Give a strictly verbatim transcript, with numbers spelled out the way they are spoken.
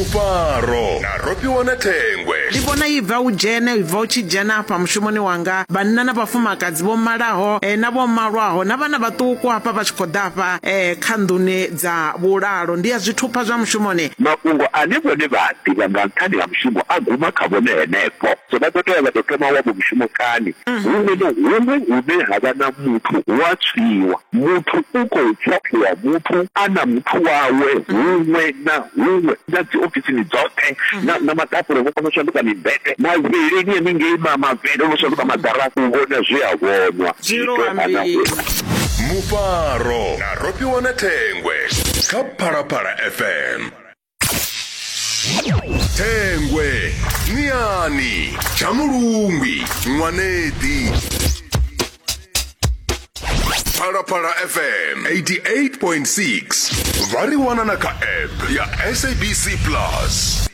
Mufaro na Rofhiwa na Thengwe. Ndi vhona i bva u dzhena i bva u tshi dzhena afha mushumoni wanga, vhanna na vhafumakadzi vho malaho eh, na vho malwaho na vhana vhaṱuku hafha vha tshi khou ḓa hafha eh, kha nḓuni dza vhulalo. Ndi ya zwithupha zwa mushumoni. Mafhungo ane vhone vha a ḓivha nga nṱhani ha mushumo a guma kha vhone henefho, so vha ḓo tea vha tou thoma wavho mushumo kani. Huṅwe na huṅwe hune ha vha na muthu hu a tswiwa, muthu u khou tswa muthu a na muthu wawe huṅwe na huṅwe, na dzi ofisini dzoṱhe na, na maḓafula vho kona u shanduka mibete, mavheleni haningei ma mavhele ono shanduka maḓarafu, u vhona zwe a vhonwa. Zwi lo ambiwa. Mufaro na Rofhiwa na Thengwe kha Phalaphala F M. Thengwe, Niani, Tshamulungwi, Ṅwanedi. Phalaphala F M eighty-eight point six. Vha ri wana na kha app ya S A B C Plus.